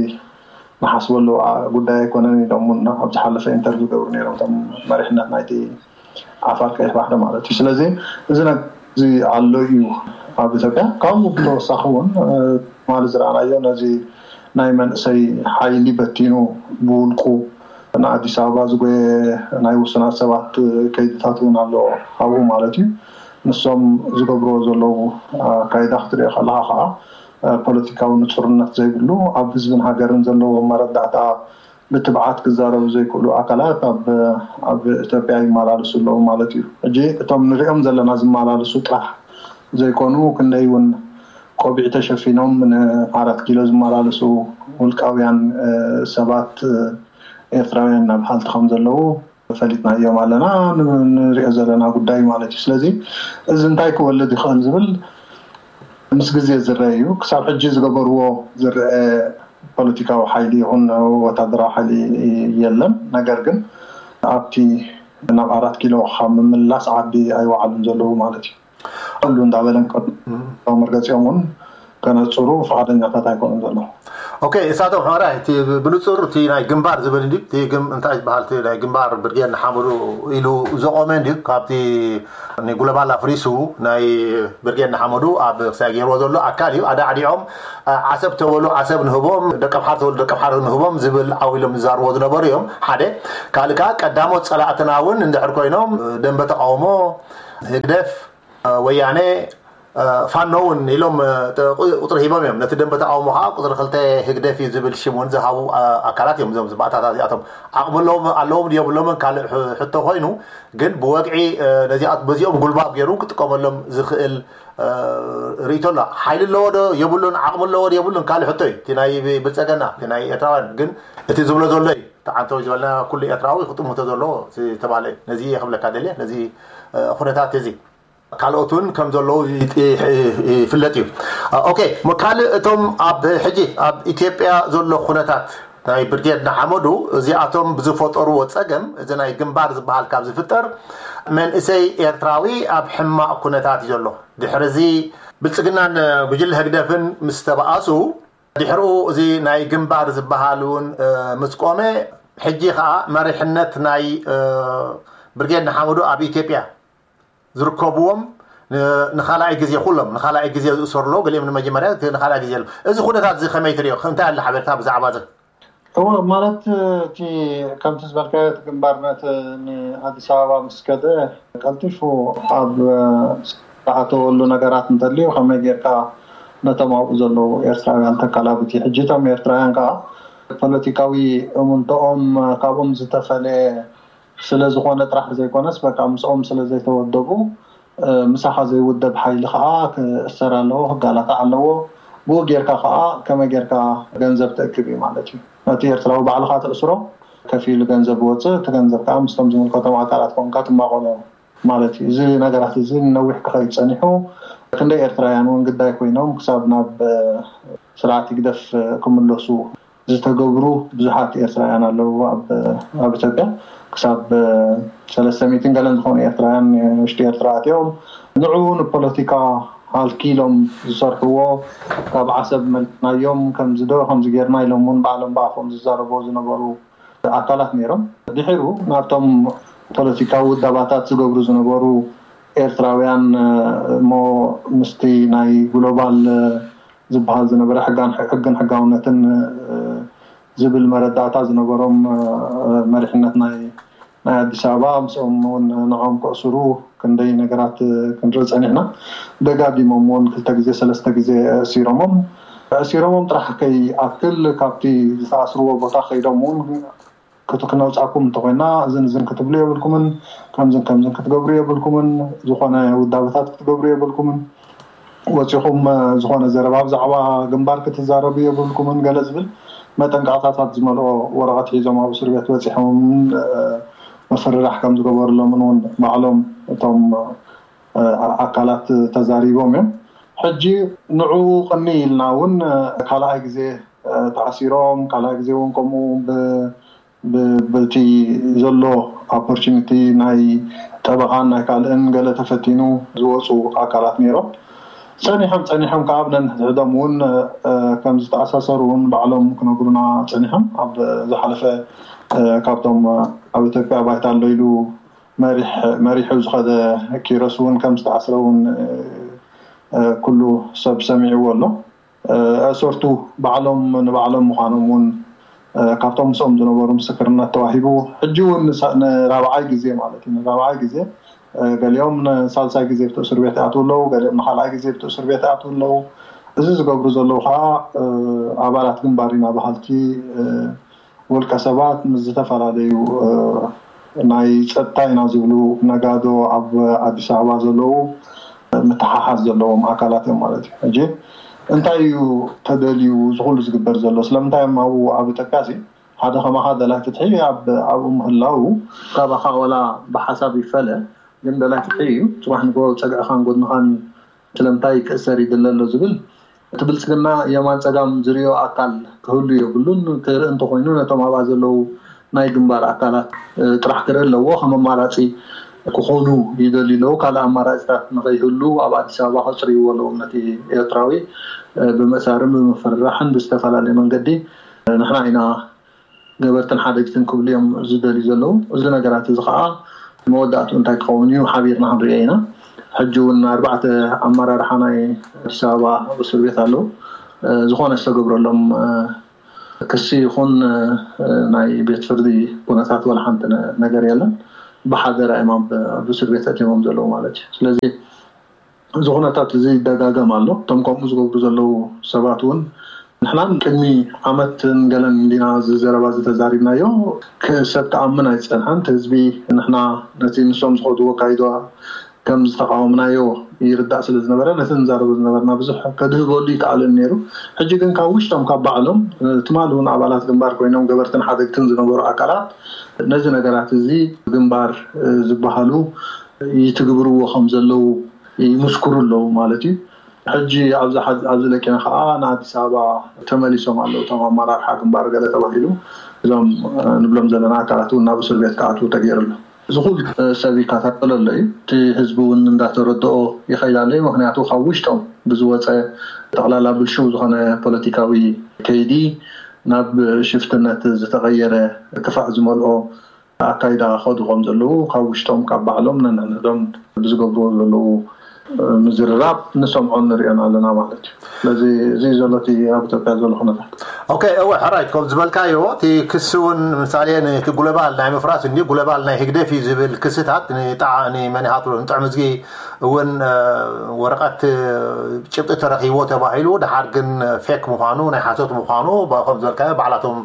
ንሓስበሉ ጉዳይ ኣይኮነን ኢሎም እውን ኣብ ዝሓለፈ ኢንተርቪው ገብሩ ነይሮም እቶም መሪሕነት ናይቲ ዓፋር ቀይሕ ባሕሪ ማለት እዩ። ስለዚ እዚ ነዚ ኣሎ እዩ ኣብ ኢትዮጵያ። ካብኡ ብተወሳኺ እውን ትማሊ ዝረኣናዮ ነዚ ናይ መንእሰይ ሓይሊ በቲኑ ብውልቁ ንኣዲስ ኣበባ ዝጎየ ናይ ውሱናት ሰባት ከይድታት እውን ኣሎ ኣብኡ ማለት እዩ። ንሶም ዝገብርዎ ዘለዉ ኣካይዳ ክትሪኦ ከለካ ከዓ ፖለቲካዊ ንፁርነት ዘይብሉ ኣብ ህዝብን ሃገርን ዘለዎ መረዳእታ ብትብዓት ክዛረቡ ዘይክእሉ ኣካላት ኣብ ኣብ ኢትዮጵያ ይመላለሱ ኣለዉ ማለት እዩ። ሕጂ እቶም ንሪኦም ዘለና ዝመላለሱ ጥራሕ ዘይኮኑ ክንደይ እውን ቆቢዕ ተሸፊኖም ንኣራት ኪሎ ዝመላለሱ ውልቃውያን ሰባት ኤርትራውያን ናብ ሃልቲ ከም ዘለዉ ፈሊጥናዮም ኣለና ንሪኦ ዘለና ጉዳይ ማለት እዩ። ስለዚ እዚ እንታይ ክወልድ ይኽእል ዝብል ምስ ግዜ ዝረአ እዩ። ክሳብ ሕጂ ዝገበርዎ ዝረአ ፖለቲካዊ ሓይሊ ይኹን ወታደራዊ ሓይሊ የለን። ነገር ግን ኣብቲ ናብ ኣራት ኪሎ ካብ ምምላስ ዓዲ ኣይወዓሉን ዘለዉ ማለት እዩ። ኩሉ እንዳበለን መርገፂኦም እውን ከነፅሩ ፍቃደኛታት ኣይኮኑን ዘለዉ። ኦኬ፣ እሳቶም ሕራይ እቲ ብንፁር እቲ ናይ ግንባር ዝብል እንዲ እቲ እንታይ ዝበሃል እቲ ናይ ግንባር ብርጌድ ንሓመዱ ኢሉ ዘቆመ እንዲ ካብቲ ንጉለባላ ፍሪሱ ናይ ብርጌድ ንሓመዱ ኣብ ክሳይ ገይርዎ ዘሎ ኣካል እዩ። ኣዳዕዲዖም ዓሰብ ተበሉ ዓሰብ ንህቦም፣ ደቀምሓር ተበሉ ደቀምሓር ንህቦም ዝብል ዓው ኢሎም ዝዛርቦ ዝነበሩ እዮም። ሓደ ካልእ ከዓ ቀዳሞት ፀላእትና እውን እንድሕር ኮይኖም ደንበ ተቃውሞ ህግደፍ ወያነ ፋኖ እውን ኢሎም ቁፅሪ ሂቦም እዮም። ነቲ ደንበ ተቃውሞ ከዓ ቁፅሪ ክልተ ህግደፍ እዩ ዝብል ሽም እውን ዝሃቡ ኣካላት እዮም። እዞም ባእታታት እዚኣቶም ዓቕሚ ኣለዎም ኣለዎም የብሎምን ካልእ ሕቶ ኮይኑ ግን ብወግዒ ነዚኣ በዚኦም ጉልባብ ገይሩ ክጥቀመሎም ዝኽእል ርእይቶ ኣሎ። ሓይሊ ኣለዎ ዶ የብሉን፣ ዓቕሚ ኣለዎ ዶ የብሉን ካልእ ሕቶ እዩ። እቲ ናይ ብልፀገና እቲ ናይ ኤርትራውያን ግን እቲ ዝብሎ ዘሎ እዩ። ተዓንተው ዝበልና ኩሉ ኤርትራዊ ክጥምቶ ዘለዎ ዝተባለ እዩ። ነዚ እየ ክብለካ ደልየ ነዚ ኩነታት እዚ ካልኦት እውን ከም ዘለዉ ይፍለጥ እዩ። ኦኬ፣ ካልእ እቶም ኣብ ሕጂ ኣብ ኢትዮጵያ ዘሎ ኩነታት ናይ ብርጌድ ንሓመዱ እዚኣቶም ብዝፈጠርዎ ፀገም እዚ ናይ ግንባር ዝበሃል ካብ ዝፍጠር መንእሰይ ኤርትራዊ ኣብ ሕማቕ ኩነታት እዩ ዘሎ። ድሕሪ እዚ ብልፅግናን ጉጅለ ህግደፍን ምስ ተባኣሱ ድሕርኡ እዚ ናይ ግንባር ዝበሃል እውን ምስ ቆመ ሕጂ ከዓ መሪሕነት ናይ ብርጌድ ንሓመዱ ኣብ ኢትዮጵያ ዝርከብዎም ንካልኣይ ግዜ ኩሎም ንካልኣይ ግዜ ዝእሰሩ ኣለዉ። ገሊኦም ንመጀመርያ ንካልኣይ ግዜ ኣለዉ። እዚ ኩነታት እዚ ከመይ ትሪኦ? እንታይ ኣለ ሓበሬታ ብዛዕባ እዚ? እወ ማለት እቲ ከምቲ ዝበልካዮ እቲ ግንባር ነቲ ንኣዲስ ኣበባ ምስ ከደ ቀልጢፉ ኣብ ዝኣተወሉ ነገራት እንተልዩ ከመይ ጌርካ ነቶም ኣብኡ ዘለዉ ኤርትራውያን ተካላብት እዩ። ሕጂ እቶም ኤርትራውያን ከዓ ፖለቲካዊ እምንቶኦም ካብኦም ዝተፈለየ ስለ ዝኾነ ጥራሕ ዘይኮነስ፣ በቃ ምስኦም ስለ ዘይተወደቡ፣ ምሳኻ ዘይውደብ ሓይሊ ከዓ ክእሰር ኣለዎ፣ ክጋላታዕ ኣለዎ። ብኡ ጌርካ ከዓ ከመይ ጌርካ ገንዘብ ትእክብ እዩ ማለት እዩ። ነቲ ኤርትራዊ ባዕልኻ ትእስሮ፣ ከፊሉ ገንዘብ ወፅእ፣ እቲ ገንዘብ ከዓ ምስቶም ዝምልከቶም ኣካላት ኮንካ ትማቐሎ ማለት እዩ። እዚ ነገራት እዚ ነዊሕ ክኸይድ ጸኒሑ፣ ክንደይ ኤርትራውያን እውን ግዳይ ኮይኖም ክሳብ ናብ ስርዓት ይግደፍ ክምለሱ ዝተገብሩ ብዙሓት ኤርትራውያን ኣለዉ። ኣብ ኢትዮጵያ ክሳብ ሰለስተ ሚእትን ገለን ዝኾኑ ኤርትራውያን ውሽጢ ኤርትራ ኣትዮም፣ ንዑ ንፖለቲካ ሃልኪሎም ዝሰርሕዎ፣ ካብ ዓሰብ መሊስናዮም፣ ከምዚ ዶ ከምዚ ጌርና ኢሎም እውን ባዕሎም ብኣፎም ዝዛረብዎ ዝነበሩ ኣካላት ነይሮም። ድሒሩ ናብቶም ፖለቲካዊ ውዳባታት ዝገብሩ ዝነበሩ ኤርትራውያን እሞ ምስቲ ናይ ግሎባል ዝበሃል ዝነበረ ሕግን ሕጋውነትን ዝብል መረዳእታ ዝነበሮም መሪሕነት ናይ ናይ ኣዲስ ኣበባ ምስኦም እውን ንዖም ክእስሩ ክንደይ ነገራት ክንርኢ ጸኒሕና። ደጋጊሞም እውን ክልተ ግዜ ሰለስተ ግዜ እሲሮሞም እሲሮሞም ጥራሕ ከይኣክል ካብቲ ዝተኣስርዎ ቦታ ከይዶም እውን ክነውፃኩም እንተኮይና እዝን እዝን ክትብሉ የብልኩምን፣ ከምዝን ከምዝን ክትገብሩ የብልኩምን፣ ዝኾነ ውዳበታት ክትገብሩ የብልኩምን፣ ወፂኹም ዝኾነ ዘረባ ብዛዕባ ግንባር ክትዛረቡ የብልኩምን ገለ ዝብል መጠንቀቕታታት ዝመልኦ ወረቐት ሒዞም ኣብ እስር ቤት በፂሖም ምፍርራሕ ከም ዝገበሩሎምን እውን ባዕሎም እቶም ኣካላት ተዛሪቦም እዮም። ሕጂ ንዑ ቅኒ ኢልና እውን ካልኣይ ግዜ ተኣሲሮም ካልኣይ ግዜ እውን ከምኡ በቲ ዘሎ ኦፖርቹኒቲ ናይ ጠበቓን ናይ ካልእን ገለ ተፈቲኑ ዝወፁ ኣካላት ነይሮም። ጸኒሖም ጸኒሖም ከዓ ኣብ ነንሕድሕዶም እውን ከም ዝተኣሳሰሩ እውን ባዕሎም ክነግሩና ጸኒሖም። ኣብ ዝሓለፈ ካብቶም ኣብ ኢትዮጵያ ባይታ ኣሎ ኢሉ መሪሑ ዝኸደ ኪሮስ እውን ከም ዝተኣስረ እውን ኩሉ ሰብ ሰሚዕዎ ኣሎ። ኣእሰርቱ ባዕሎም ንባዕሎም ምዃኖም እውን ካብቶም ምስኦም ዝነበሩ ምስክርነት ተዋሂቡ። ሕጂ እውን ንራብዓይ ግዜ ማለት እዩ፣ ንራብዓይ ግዜ፣ ገሊኦም ንሳልሳይ ግዜ ብቲ እስር ቤት ይኣትዉ ኣለዉ፣ ገሊኦም ንካልኣይ ግዜ ብቲ እስር ቤት ይኣትዉ ኣለዉ። እዚ ዝገብሩ ዘለዉ ከዓ ኣባላት ግንባር ኢና በሃልቲ ውልቀ ሰባት ምስ ዝተፈላለዩ ናይ ፀጥታ ኢና ዝብሉ ነጋዶ ኣብ ኣዲስ ኣበባ ዘለዉ ምትሓሓዝ ዘለዎም ኣካላት እዮም ማለት እዩ። ሕጂ እንታይ እዩ ተደልዩ ዝኩሉ ዝግበር ዘሎ? ስለምንታይ እዮም ኣብኡ ኣብ ኢትዮጵያ ሲ ሓደ ከማኻ ደላይ ፍትሒ ኣብኡ ምህላው ካባኻ ዋላ ብሓሳብ ይፈለ፣ ግን ደላይ ፍትሒ እዩ። ፅባሕ ንጎ ፀግዕኻን ጎድንኻን ስለምንታይ ክእሰር ይድለ ኣሎ ዝብል እቲ ብልፅግና የማን ፀጋም ዝሪኦ ኣካል ክህሉ የብሉን። ክርኢ እንተኮይኑ ነቶም ኣብኣ ዘለዉ ናይ ግንባር ኣካላት ጥራሕ ክርኢ ኣለዎ። ከም ኣማራፂ ክኾኑ ይደልዩ ኣለዉ። ካልእ ኣማራፂታት ንኸይህሉ ኣብ ኣዲስ ኣበባ ከፅርይዎ ኣለዎም ነቲ ኤርትራዊ። ብምእሳርን ብምፍርራሕን ብዝተፈላለየ መንገዲ ንሕና ኢና ገበርትን ሓደግትን ክብሉ እዮም ዝደልዩ ዘለዉ። እዚ ነገራት እዚ ከዓ መወዳእትኡ እንታይ ክኸውን እዩ ሓቢርና ክንሪኦ ኢና። ሕጂ እውን ኣርባዕተ ኣመራርሓ ናይ ኣዲስ ኣበባ ኣብ እስር ቤት ኣለዉ። ዝኾነ ዝተገብረሎም ክሲ ይኹን ናይ ቤት ፍርዲ ኩነታት ዋላ ሓንቲ ነገር የለን። ብሓደራ እዮም ኣብ እስር ቤት ኣእትዮሞም ዘለዉ ማለት እዩ። ስለዚ እዚ ኩነታት እዚ ይደጋገም ኣሎ። እቶም ከምኡ ዝገብሩ ዘለዉ ሰባት እውን ንሕናን ቅድሚ ዓመትን ገለን እንዲና እዚ ዘረባ እዚ ተዛሪብናዮ። ሰብ ክኣምን ኣይፀንሐን። እቲ ህዝቢ ንሕና ነቲ ንሶም ዝኸድዎ ኣካይዳ ከም ዝተቃወምናዮ ይርዳእ ስለ ዝነበረ ነቲ ንዛረቦ ዝነበርና ብዙሕ ከድህበሉ ይከኣልን ነይሩ። ሕጂ ግን ካብ ውሽጦም ካብ ባዕሎም ትማሊ እውን ኣባላት ግንባር ኮይኖም ገበርትን ሓደግትን ዝነበሩ ኣካላት ነዚ ነገራት እዚ ግንባር ዝበሃሉ ይትግብርዎ ከም ዘለዉ ይምስክሩ ኣለዉ ማለት እዩ። ሕጂ ኣብዚ ለቂና ከዓ ንኣዲስ ኣበባ ተመሊሶም ኣለዉ እቶም ኣመራርሓ ግንባር ገለ ተባሂሉ እዞም ንብሎም ዘለና ኣካላት እውን ናብ እስር ቤት ክኣትዉ ተገይሩ ኣሎ። እዚ ኩሉ ሰብ ይከታተሎ ኣሎ እዩ። እቲ ህዝቢ እውን እንዳተረድኦ ይኸይድ ኣሎ እዩ። ምክንያቱ ካብ ውሽጦም ብዝወፀ ጠቕላላ ብልሽው ዝኾነ ፖለቲካዊ ከይዲ ናብ ሽፍትነት ዝተቐየረ ክፋእ ዝመልኦ ኣካይዳ ከዱ ከም ዘለዉ ካብ ውሽጦም ካብ ባዕሎም ነንሕድሕዶም ብዝገብርዎ ዘለዉ ምዝርራብ ንሰምዖን ንሪኦን ኣለና ማለት እዩ። ስለዚ እዚ ዘሎ እቲ ኣብ ኢትዮጵያ ዘሎ ኩነታት ኦኬ፣ እወ፣ ሕራይት፣ ከም ዝበልካዮ፣ እቲ ክሲ እውን፣ ምሳሌ፣ እቲ ጉለባል ናይ ምፍራስ እንዲ ጉለባል ናይ ህግደፍ እዩ ዝብል ክስታት ንጣዕ-፣ ንመን ይሃትሎ፣ ንጥዕምዝጊ እውን፣ እ፣ ወረቐት፣ እ፣ ጭብጢ ተረኺቦ ተባሂሉ፣ ደሓር ግን ፌክ ምዃኑ፣ ናይ ሓሶት ምዃኑ፣ ባ-፣ ከም ዝበልካዮ፣ ባዕላቶም፣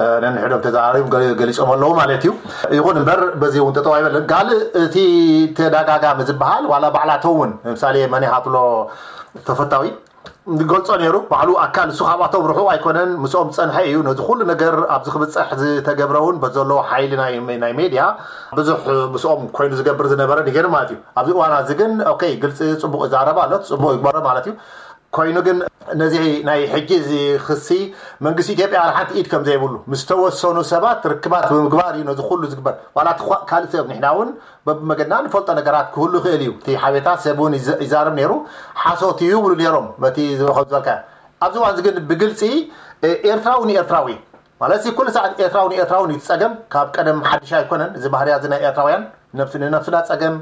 እ፣ ነንሕዶም ተዘራሪቦም ገሊ-፣ ገሊጾም ኣለዉ ማለት እዩ። ይኹን እምበር፣ በዚ እውን ጠጠው ኣይበለን። ካልእ እቲ ተደጋጋሚ ዝበሃል፣ ዋላ ባዕላቶም እውን፣ ምሳሌ፣ መን ይሃትሎ ተፈታዊ፣ ዝገልጾ ነይሩ። ባዕሉ ኣካል፣ እሱ ካብኣቶም ርሑቕ ኣይኮነን፣ ምስኦም ዝጸንሐ እዩ። ነዚ ኩሉ ነገር ኣብዚ ክብጸሕ ዝተገብረ እውን በዘለዎ ሓይሊ ናይ፣ ናይ ሜድያ ብዙሕ ምስኦም ኮይኑ ዝገብር ዝነበረ ነገር ማለት እዩ። ኣብዚ እዋን እዚ ግን፣ ኦኬ፣ ግልጺ፣ ጽቡቕ ይዛረብ ኣሎ፣ ጽቡቕ ይግበሮ ማለት እዩ። ኮይኑ ግን ነዚ ናይ ሕጂ እዚ ክሲ መንግስቲ ኢትዮጵያ ዋላ ሓንቲ ኢድ ከም ዘይብሉ፣ ምስ ተወሰኑ ሰባት ርክባት ብምግባር እዩ ነዚ ኩሉ ዝግበር። ዋላ እቲ ኳ-፣ ካልእ ሰብ፣ ንሕና እውን በብመገድና ንፈልጦ ነገራት ክህሉ ይኽእል እዩ። እቲ ሓቤታ ሰብ እውን ይዘ-፣ ይዛረብ ነይሩ፣ ሓሶት እዩ ይብሉ ነይሮም። በቲ ዝኸም ዝበልካ ኣብዚ እዋን እዚ ግን ብግልፂ፣ እ፣ ኤርትራዊ ንኤርትራዊ ማለት እዚ ኩሉ ሰዓት ኤርትራዊ ንኤርትራዊ እዩ። እቲ ፀገም ካብ ቀደም ሓድሽ ኣይኮነን። እዚ ባህርያ እዚ ናይ ኤርትራውያን፣ ነብስ-፣ ንነብስና ፀገም፣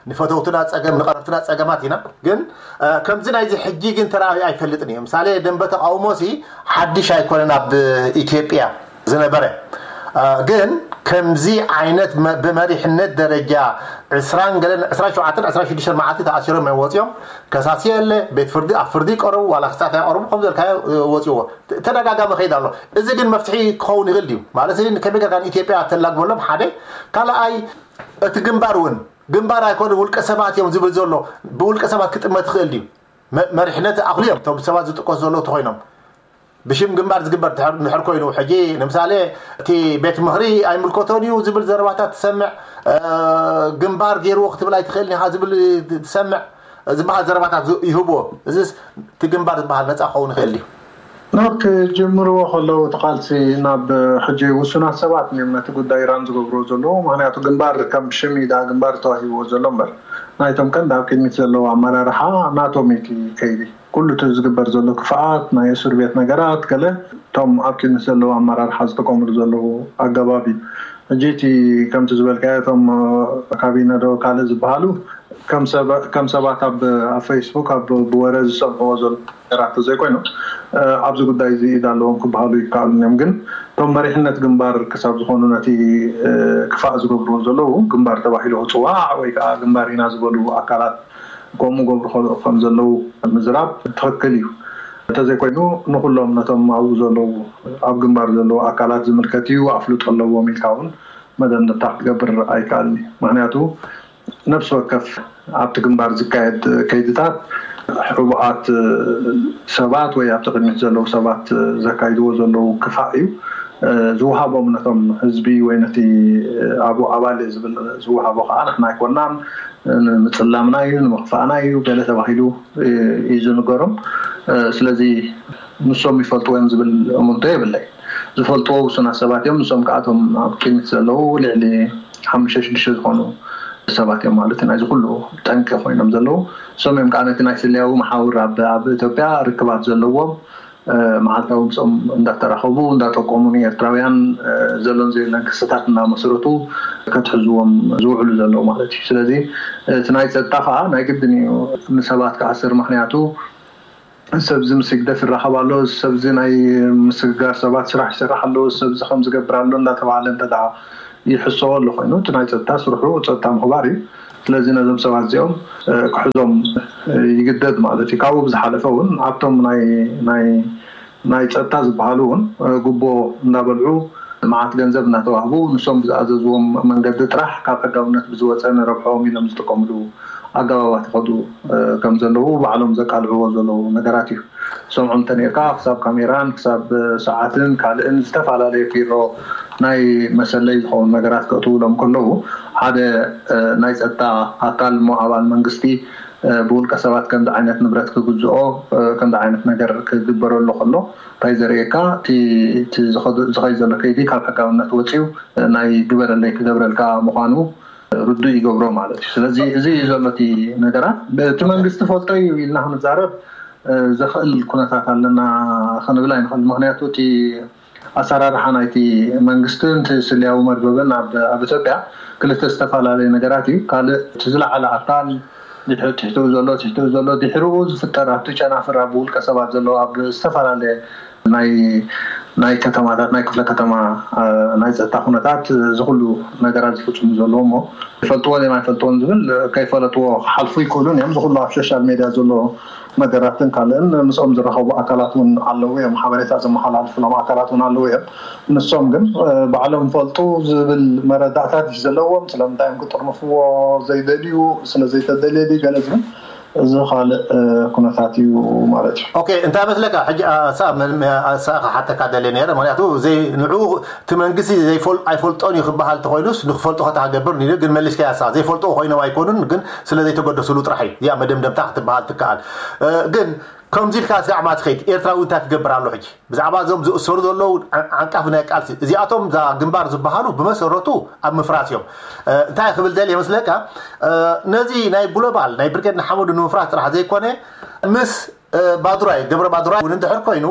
ንፈተውትና ፀገም፣ ንቐረብትና ፀገማት ኢና። ግን፣ እ፣ ከምዚ ናይዚ ሕጂ ግን ተራእዩ ኣይፈልጥን እዩ። ምሳሌ ደንበ ተቃውሞ ሲ ሓድሽ ኣይኮነን ኣብ ኢትዮጵያ ዝነበረ። እ፣ ግን ከምዚ ዓይነት መ-፣ ብመሪሕነት ደረጃ ዕስራን ገለን፣ ዕስራን ሸውዓተን ዕስራን ሽዱሽተን መዓልቲ ተኣሲሮም እዮም ወፂኦም። ከሳሲ የለ፣ ቤት ፍርዲ፣ ኣብ ፍርዲ ይቀረቡ፣ ዋላ ክሳት ኣይቀረቡ፣ ከም ዘልካዮ፣ እ፣ ወፂዎ። ተ-፣ ተደጋጋሚ ከይድ ኣሎ። እዚ ግን መፍትሒ ክኸውን ይኽእል ድዩ? ማለት እዚ ከመይ ጌርካ ንኢትዮጵያ ተላግበሎም? ሓደ። ካልኣይ፣ እቲ ግንባር እውን ግንባር ኣይኮነ ውልቀ ሰባት እዮም ዝብል ዘሎ። ብውልቀ ሰባት ክጥመት ይኽእል ድዩ? መ-፣ መሪሕነት ኣኽሉ እዮም እቶም ሰባት ዝጥቀሱ ዘለዉ ተኾይኖም። ብሽም ግንባር ዝግበር ድሕር፣ ድሕር ኮይኑ፣ ሕጂ ንምሳሌ፣ እቲ ቤት ምኽሪ ኣይምልከቶን እዩ ዝብል ዘረባታት ትሰምዕ፣ እ፣ ግንባር ገይርዎ ክትብል ኣይትኽእልን ኢኻ ዝብል ትሰምዕ፣ ዝበሃል ዘረባታት ዝ-፣ ይህብዎ። እዚስ እቲ ግንባር ዝበሃል ነፃ ክኸውን ይኽእል ድዩ? ኖ፣ ክጅምርዎ ከለዉ እቲ ቃልሲ ናብ ሕጂ ውሱናት ሰባት እዮም ነቲ ጉዳይ ራን ዝገብርዎ ዘለዉ። ምኽንያቱ ግንባር ከም ሽም እዩ ደኣ ግንባር ተዋሂብዎ ዘሎ እምበር፣ ናይቶም ቀንዲ ኣብ ቅድሚት ዘለዉ ኣመራርሓ ናቶም እዩ እቲ ከይዲ። ኩሉ እቲ ዝግበር ዘሎ ክፍኣት፣ ናይ እስር ቤት ነገራት፣ ገለ እቶም ኣብ ቅድሚት ዘለዉ ኣመራርሓ ዝጥቀምሉ ዘለዉ ኣገባብ እዩ። ሕጂ እቲ ከምቲ ዝበልካዮ፣ እቶም፣ እ፣ ካቢነ ዶ ካልእ ዝበሃሉ ከም ሰባ-፣ ከም ሰባት ኣብ፣ ኣብ ፌስቡክ ኣብ ብወረ ዝሰምዕዎ ዘሎ ነገራት ተዘይኮይኑ፣ እ፣ ኣብዚ ጉዳይ እዚ ኢድ ኣለዎም ክበሃሉ ይከኣሉን እዮም። ግን እቶም መሪሕነት ግንባር ክሳብ ዝኾኑ ነቲ፣ እ፣ ክፋእ ዝገብርዎ ዘለዉ ግንባር ተባሂሉ ክጽዋዕ ወይ ከዓ ግንባር ኢና ዝበሉ ኣካላት ከምኡ ገብሩ ከ-፣ ከም ዘለዉ ምዝራብ ትኽክል እዩ። እንተዘይኮይኑ ንኹሎም ነቶም ኣብኡ ዘለዉ፣ ኣብ ግንባር ዘለዉ ኣካላት ዝምልከት እዩ፣ ኣፍልጦ ኣለዎም ኢልካ እውን መደምደምታ ክትገብር ኣይከኣልን እዩ። ምኽንያቱ ነፍሲ ወከፍ ኣብቲ ግንባር ዝካየድ ከይድታት ሕቡኣት ሰባት ወይ ኣብቲ ቅድሚት ዘለዉ ሰባት ዘካይድዎ ዘለዉ ክፋእ እዩ። ዝወሃቦም ነቶም ህዝቢ ወይ ነቲ ኣብኡ ኣባል እየ ዝብል ዝወሃቦ ከዓ ንሕና ኣይኮናን፣ ንምፅላምና እዩ፣ ንምኽፋእና እዩ፣ ገለ ተባሂሉ እዩ ዝንገሮም። ስለዚ ንሶም ይፈልጥዎ እዮም ዝብል እሙንቶ የብለይ። ዝፈልጥዎ ውሱናት ሰባት እዮም። ንሶም ከዓ እቶም ኣብ ቅድሚት ዘለዉ ልዕሊ ሓሙሽተ ሽዱሽተ ዝኾኑ ሰባት እዮም ማለት እዩ ናይዚ ኩሉ ጠንቂ ኮይኖም ዘለዉ። ንሶም እዮም ከዓ ነቲ ናይ ስለያዊ መሓውር ኣብ፣ ኣብ ኢትዮጵያ ርክባት ዘለዎም፣ እ፣ መዓልታዊ ምስኦም እንዳተራኸቡ እንዳጠቆሙ ንኤርትራውያን፣ እ፣ ዘሎን ዘየለን ክስታት እናመስረቱ ከትሕዝዎም ዝውዕሉ ዘለዉ ማለት እዩ። ስለዚ እቲ ናይ ጸጥታ ከዓ ናይ ግድን እዩ ንሰባት ክኣስር። ምኽንያቱ ሰብዚ ምስ ህግደፍ ይራኸብ ኣሎ፣ ሰብዚ ናይ ምስግጋር ሰባት ስራሕ ይሰርሕ ኣሎ፣ ሰብዚ ከም ዝገብር ኣሎ እንዳተባሃለ እንተ ደኣ ይሕሰዎ ኣሎ ኮይኑ፣ እቲ ናይ ጸጥታ ስርሑ ጸጥታ ምኽባር እዩ። ስለዚ ነዞም ሰባት እዚኦም፣ እ፣ ክሕዞም፣ እ፣ ይግደድ ማለት እዩ። ካብኡ ብዝሓለፈ እውን ኣብቶም ናይ፣ ናይ፣ ናይ ጸጥታ ዝበሃሉ እውን፣ እ፣ ጉቦ እንዳበልዑ መዓት ገንዘብ እናተዋህቡ ንሶም ብዝኣዘዝዎም መንገዲ ጥራሕ ካብ ሕጋውነት ብዝወፀ ንረብሕኦም ኢሎም ዝጥቀምሉ ኣገባባት ይኸዱ፣ እ፣ ከም ዘለዉ ባዕሎም ዘቃልዕዎ ዘለዉ ነገራት እዩ። ሰምዖም እንተኔርካ ክሳብ ካሜራን ክሳብ ሰዓትን ካልእን ዝተፈላለዩ ፒሮ ናይ መሰለይ ዝኸውን ነገራት ከእትውሎም ከለዉ ሓደ፣ እ፣ ናይ ጸጥታ ኣካል እሞ ኣባል መንግስቲ፣ እ፣ ብውልቀ ሰባት ከምዚ ዓይነት ንብረት ክግዝኦ፣ እ፣ ከምዚ ዓይነት ነገር ክግበረሉ ከሎ እንታይ ዘርእየካ እቲ፣ እቲ ዝኸዱ-፣ ዝኸይድ ዘሎ ከይዲ ካብ ሕጋውነት ወፂኡ፣ እ፣ ናይ ግበረለይ ክገብረልካ ምዃኑ ርዱእ ይገብሮ ማለት እዩ። ስለዚ እዚ እዩ ዘሎ እቲ ነገራት። እቲ መንግስቲ ፈልጦ እዩ ኢልና ክንዛረብ፣ እ፣ ዘኽእል ኩነታት ኣለና ክንብል ኣይንኽእል። ምኽንያቱ እቲ ኣሰራርሓ ናይቲ መንግስትን እቲ ስልያዊ መርበብን ኣብ፣ ኣብ ኢትዮጵያ ክልተ ዝተፈላለዩ ነገራት እዩ። ካልእ እቲ ዝለዓለ ኣካል ድሕሪ ትሕትኡ ዘሎ፣ ትሕትኡ ዘሎ ድሕሪኡ ዝፍጠር ኣብቲ ጨናፍር ኣብ ውልቀ ሰባት ዘሎ ኣብ ዝተፈላለየ ናይ ናይ ከተማታት ናይ ክፍለ ከተማ ናይ ፀጥታ ኩነታት እዚ ኩሉ ነገራት ዝፍፅሙ ዘለዉ እሞ ይፈልጥዎ እዮም ኣይፈልጥዎን ዝብል ከይፈለጥዎ ክሓልፉ ይክእሉን እዮም። ዝኩሉ ኣብ ሶሻል ሜድያ ዘሎ ነገራትን ካልእን ምስኦም ዝረኸቡ ኣካላት እውን ኣለዉ እዮም። ሓበሬታ ዘመሓላልፍሎም ኣካላት እውን ኣለዉ እዮም። ንሶም ግን ባዕሎም ይፈልጡ ዝብል መረዳእታት እዩ ዘለዎም። ስለምንታይ እዮም ክጥርንፍዎ ዘይደልዩ? ስለዘይተደልየ ድዩ ገለ ዝብል እዚ ካልእ ኩነታት እዩ ማለት እዩ። ኦኬ፣ እንታይ መስለካ ሕጂ? ክሓተካ ደልየ ነረ። ምክንያቱ ንዑ እቲ መንግስቲ ኣይፈልጦን እዩ ክበሃል እንተኮይኑስ ንክፈልጦ ከታ ክገብር ኒ ግን መሊስካ ያሳ ዘይፈልጦ ኮይኖም ኣይኮኑን፣ ግን ስለ ዘይተገደስሉ ጥራሕ እዩ እዚኣ መደምደምታ ክትበሃል ትከኣል። ግን ከምዚ ኢልካ ስጋዕ ማ ትኸይድ ኤርትራዊ እንታይ ክገብር ኣሎ ሕጂ? ብዛዕባ እዞም ዝእሰሩ ዘለዉ ዓንቃፊ ናይ ቃልሲ እዚኣቶም እዛ ግንባር ዝበሃሉ ብመሰረቱ ኣብ ምፍራስ እዮም። እንታይ ክብል ደል የመስለካ? ነዚ ናይ ግሎባል ናይ ብርጌድ ንሓመዱ ንምፍራስ ጥራሕ ዘይኮነ ምስ ባዱራይ ገብረ ባዱራይ እውን እንድሕር ኮይኑ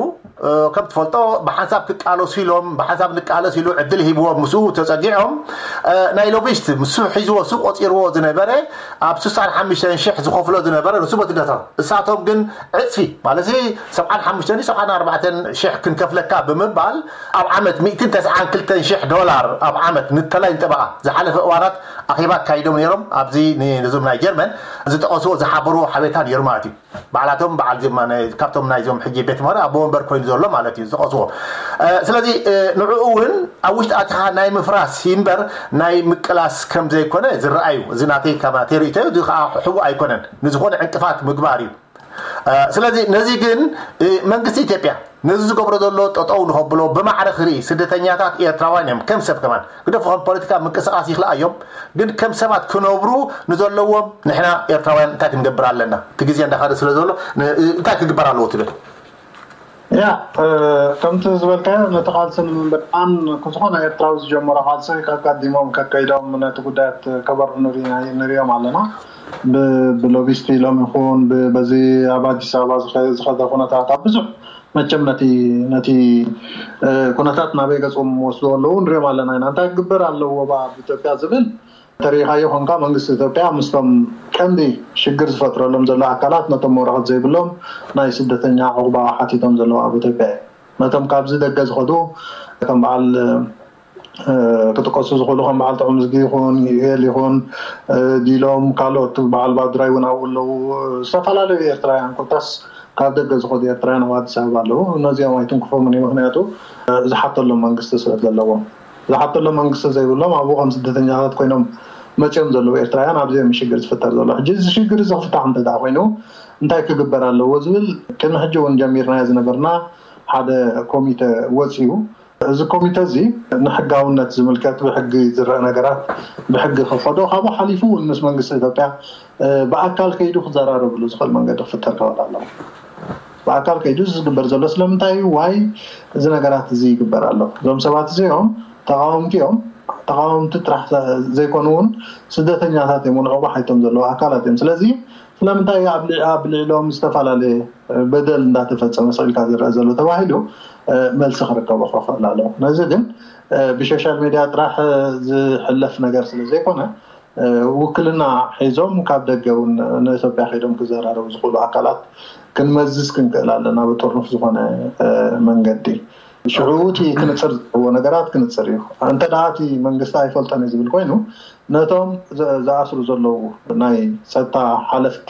ከም ትፈልጦ ብሓንሳብ ክቃለሱ ኢሎም ብሓንሳብ ንቃለስ ኢሉ ዕድል ሂብዎም ምስኡ ተፀጊዖም ናይ ሎቢስት ምስ ሒዝዎ ሱ ቆፂርዎ ዝነበረ ኣብ ስሳን ሓሙሽተን ሽሕ ዝኸፍሎ ዝነበረ ንሱ በትነቶም እሳቶም ግን ዕፅፊ ማለት ሰብዓን ሓሙሽተን ሰብዓን ኣርባዕተን ሽሕ ክንከፍለካ ብምባል ኣብ ዓመት ሚእትን ተስዓን ክልተን ሽሕ ዶላር ኣብ ዓመት ንተላይ ንጠበቓ ዝሓለፈ እዋናት ኣኼባ ኣካይዶም ነይሮም። ኣብዚ ነዞም ናይ ጀርመን ዝጠቐስዎ ዝሓበርዎ ሓቤታ ነይሩ ማለት እዩ። ባዕላቶም በዓል ካብቶም ናይዞም ሕጂ ቤት ምኽሪ ኣቦ ወንበር ኮይኑ ዘሎ ማለት እዩ ዝጠቐስዎ። ስለዚ ንዕኡ እውን ኣብ ውሽጢ ኣቲኻ ናይ ምፍራስ ይንበር ናይ ምቅላስ ከም ዘይኮነ ዝረኣዩ እዚ ናተይ ካብ ናተይ ርእቶ እዩ። እዚ ከዓ ሕቡእ ኣይኮነን፣ ንዝኾነ ዕንቅፋት ምግባር እዩ። ስለዚ ነዚ ግን መንግስቲ ኢትዮጵያ ነዚ ዝገብሮ ዘሎ ጠጠው ንኸብሎ ብማዕረ ክርኢ ስደተኛታት ኤርትራውያን እዮም ከም ሰብ ከማን ግደፉ ከም ፖለቲካ ምንቅስቃስ ይኽልኣዮም፣ ግን ከም ሰባት ክነብሩ ንዘለዎም ንሕና ኤርትራውያን እንታይ ክንገብር ኣለና? እቲ ግዜ እንዳኸደ ስለ ዘሎ እንታይ ክግበር ኣለዎ ትብል? ያ ከምቲ ዝበልካዮ ነቲ ቃልሲ ንምንብርቃን ክዝኾነ ኤርትራዊ ዝጀመሮ ቃልሲ ከቀዲሞም ከከይዶም ነቲ ጉዳያት ከበርዑ ንሪኦም ኣለና። ብሎቢስቲ ኢሎም ይኹን በዚ ኣብ ኣዲስ ኣበባ ዝኸደ ኩነታት ኣብ ብዙሕ መቸም ነቲ ነቲ ኩነታት ናበይ ገፅዎም ወስዶ ኣለዉ ንሪኦም ኣለና ኢና። እንታይ ክግበር ኣለዎ ኣብ ኢትዮጵያ ዝብል ተሪኢኻዮ ኮንካ መንግስቲ ኢትዮጵያ ምስቶም ቀንዲ ሽግር ዝፈጥረሎም ዘሎ ኣካላት ነቶም ወረቐት ዘይብሎም ናይ ስደተኛ ዑቕባ ሓቲቶም ዘለዉ ኣብ ኢትዮጵያ እዩ። ነቶም ካብዚ ደገ ዝኸዱ ከም በዓል ክጥቀሱ ዝኽእሉ ከም በዓል ጥዑምዝጊ ይኹን ዩኤል ይኹን ዲሎም ካልኦት በዓል ባዱራይ እውን ኣብኡ ኣለዉ። ዝተፈላለዩ ኤርትራውያን ኮታስ ካብ ደገ ዝኸዱ ኤርትራውያን ኣብ ኣዲስ ኣበባ ኣለዉ። ነዚኦም ኣይትንክፎምን እዩ። ምክንያቱ ዝሓተሎም መንግስቲ ስለ ዘለዎም። ዝሓተሎም መንግስቲ ዘይብሎም ኣብኡ ከም ስደተኛታት ኮይኖም መፅዮም ዘለዉ ኤርትራውያን ኣብዚኦም ሽግር ዝፍጠር ዘሎ። ሕጂ እዚ ሽግር እዚ ክፍታሕ እንተ ደኣ ኮይኑ እንታይ ክግበር ኣለዎ ዝብል ቅድሚ ሕጂ እውን ጀሚርናዮ ዝነበርና ሓደ ኮሚተ ወፂኡ። እዚ ኮሚተ እዚ ንሕጋውነት ዝምልከት ብሕጊ ዝረአ ነገራት ብሕጊ ክኸዶ ካብኡ ሓሊፉ እውን ምስ መንግስቲ ኢትዮጵያ ብኣካል ከይዱ ክዘራረብሉ ዝኽእል መንገዲ ክፍጠር ክኽእል ኣለዎ። ብኣካል ከይዱ እዚ ዝግበር ዘሎ ስለምንታይ እዩ? ዋይ እዚ ነገራት እዚ ይግበር ኣሎ? እዞም ሰባት እዚኦም ተቃወምቲ እዮም። ተቃወምቲ ጥራሕ ዘይኮኑ እውን ስደተኛታት እዮም፣ ንዕቑባ ሓቲቶም ዘለዉ ኣካላት እዮም። ስለዚ ስለምንታይ ኣብ ልዕሎም ዝተፈላለየ በደል እንዳተፈፀመ ስቕ ኢልካ ዝረአ ዘሎ ተባሂሉ መልሲ ክርከቦ ክኽእል ኣለዎ። ነዚ ግን ብሶሻል ሜድያ ጥራሕ ዝሕለፍ ነገር ስለ ዘይኮነ ውክልና ሒዞም ካብ ደገ እውን ንኢትዮጵያ ከይዶም ክዘራረቡ ዝኽእሉ ኣካላት ክንመዝዝ ክንክእል ኣለና ብጥርኑፍ ዝኾነ መንገዲ። ሽዑ እቲ ክንፅር ዘለዎ ነገራት ክንፅር እዩ። እንተ ደኣ እቲ መንግስቲ ኣይፈልጦን እዩ ዝብል ኮይኑ ነቶም ዝኣስሩ ዘለዉ ናይ ፀጥታ ሓለፍቲ